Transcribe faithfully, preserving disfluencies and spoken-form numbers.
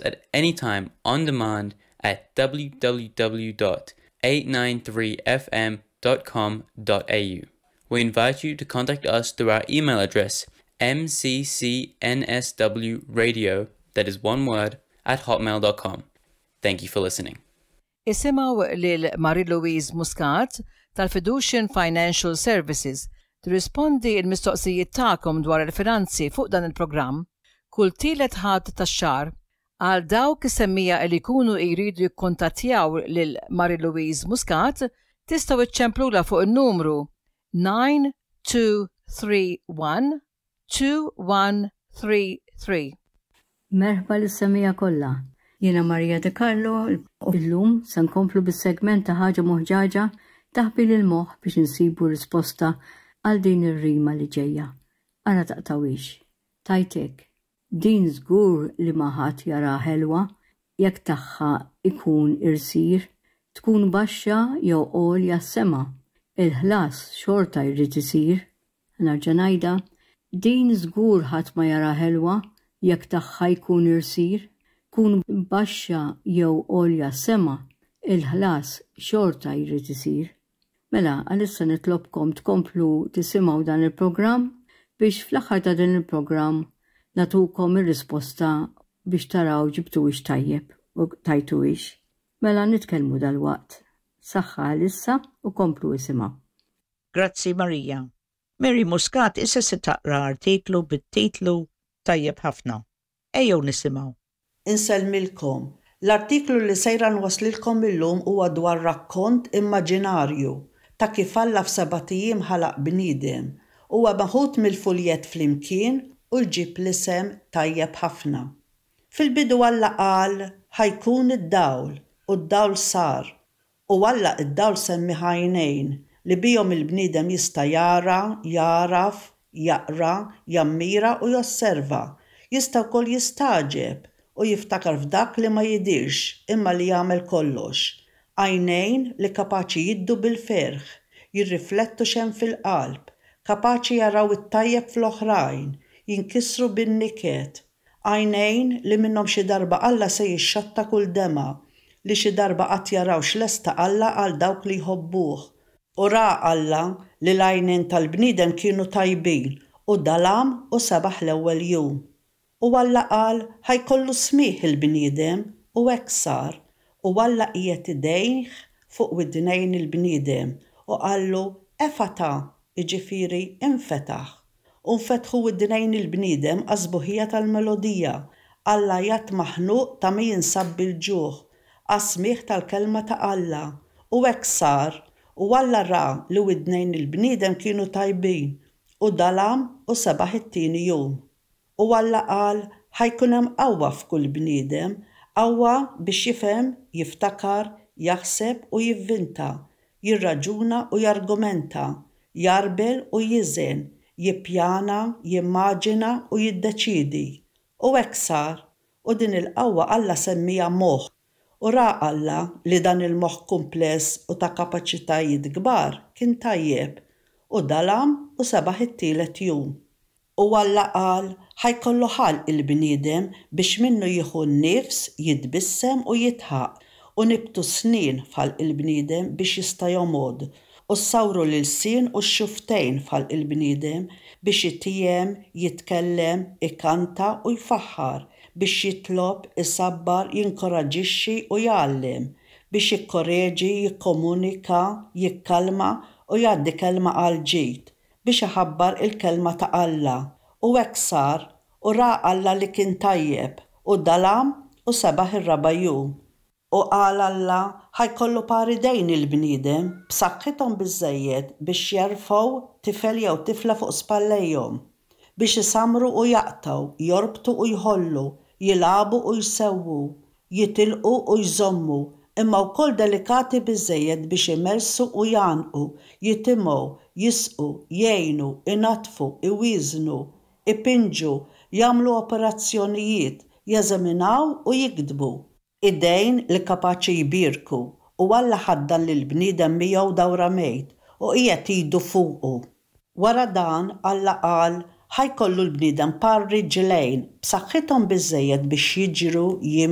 at any time on demand at w w w dot eight nine three f m dot com dot a u. We invite you to contact us through our email address m c c n s w radio, that is one word, at hotmail dot com. Thank you for listening. Isimgħu lil Marie-Louise Muscat tal-Fiducian Financial Services tirrispondi il-mistoqsijiet tagħkom dwar il-finanzi fuq dan il-programm kull tielet Ħadd tax-xahar. Għal dawk is-semmiegħa li jkunu jridu jikkontattjaw lil Marie-Louise Muscat, tistgħu iċċemplula fuq il-numru nine two three one two one three three. Merħba lis-semmiegħa kollha. Jiena Maria De Carlo u llum se nkomplu bis-segment ta' Ħaġa Moħġaġa, taħbil il-moħħ, biex insibu risposta għal din ir-rima li ġejja. Ara taqtgħuhiex. Tajtek. Din żgur li ma ħadd jara ħelwa jekk tagħha ikun irsir, tkun baxxa jew għolja s-sema. Il-ħlas xorta jrid isir. Nerġa' ngħidha, din żgur ħadd ma jara ħelwa jekk tagħha jkun irsir, tkun baxxa jew għolja s-sema, il-ħlas xorta jrid isir. Mela, għalissa nitlobkom tkomplu tisimgħu dan il-programm biex fl-aħħar ta' din il-programm nagħtukom ir-risposta biex taraw ġibtuhiex tajjeb u tajtuhiex. Mela nitkellmu dal-waqt. Saħħa għalissa u komplu isimgħu. Grazzi, Marija. Mary Muscat issa se taqra artiklu bit-titlu "Tajjeb Ħafna". Ejjew nisimgħu. Insellmilkom. L-artiklu li sejra nwaslilkom illum huwa dwar rakkont immaġinarju ta' kif Alla f'sebat ijiem ħalaq bniedem. Huwa meħud mill-fuljett "Flimkien" u jġib l-isem "Tajjeb Ħafna". Fil-bidu Alla qal, "Ħa jkun id-dawl", u d-dawl sar. U Alla id-dawl semmieh għajnejn li bihom il-bniedem jista' jara, jagħraf, jaqra, jammira u josserva. Jista' wkoll jistagħġeb u jiftakar f'dak li ma jidirx imma li jagħmel kollox. Għajnejn li kapaċi jiddu bil-ferħ, jirriflettu x'hemm fil-qalb, kapaċi jaraw it-tajjeb fl-oħrajn, jinkisru bin-niket. Għajnejn li minnhom xi darba Alla se jixxotta kull demgħa, li xi darba qatt jaraw x'lesta Alla għal dawk li jħobbuh. U ra Alla li l-għajnejn tal-bniedem kienu tajbin, u dalam u sebaħ l-ewwel jum. U Alla qal, "Ħa jkollu smigħ il-bniedem", u hekk sar. U Alla qiegħed idejh fuq widnejn il-bniedem u qallu, "Efata", jiġifieri infetaħ. U nfetħu widnejn il-bniedem għas-sbuħija tal-melodija, għall-għajat maħnuq ta' min jinsab bil-ġuħ, għas-smigħ tal-kelma ta' Alla. U hekk sar, u Alla ra li widnejn il-bniedem kienu tajbin, u dalam u sebaħ it-tieni jum. U Alla qal, "Ħa jkun hemm qawwa f'kull bniedem, qawwa biex jifhem, jiftakar, jaħseb u jivvinta, jirraġuna u jargumenta, jgħarbel u jiżen, jippjana, jimmaġina u jiddeċidi." U hekk sar, u din il-qawwa Alla semmieha moħħ. U ra Alla li dan il-moħħ kumpless u ta' kapaċitajiet kbar kien tajjeb, u dalam u sebaħ it-tielet jum. U Alla qal, "Ħa jkollu ħalq il-bniedem biex minnu jieħu n-nifs, jitbissem u jidħaq, u nibtu snien f'ħalq il-bniedem biex jista' jomgħod, u sawru l-ilsien u x-xufftejn f'ħalq il-bniedem biex jitiegħem, jitkellem, ikanta u jfaħħar, biex jitlob, isabbar, jinkoraġixxi u jgħallem, biex jikkoreġi, jikkomunika, jikkalma u jgħaddi kelma għal ġid, biex iħabbar il-kelma ta' Alla." U hekk sar, u ra Alla li kien tajjeb, u dalam u sebaħ ir-raba' jum. U qal Alla, "Ħa jkollu par idejn il-bniedem, b'saħħithom biżejjed biex jerfgħu tifel jew tifla fuq spallejhom, biex isamru u jaqtgħu, jorbtu u jħollu, jilagħbu u jsewwu, jitilqu u jżommu, imma wkoll delikati biżejjed biex imersu u jgħannqu, jitimgħu, jisqu, jgħinu, inaddfu, iwieżnu, ipinġu, jagħmlu operazzjonijiet, jeżaminaw u jiktbu. Idejn li kapaċi jbierku." U Alla ħaddan lil bniedem miegħu dawramejt u qiegħed idu fuqu. Wara dan Alla qal, "Ħa jkollu l-bniedem par riġlejn b'saħħithom biżejjed biex jiġru, jimxu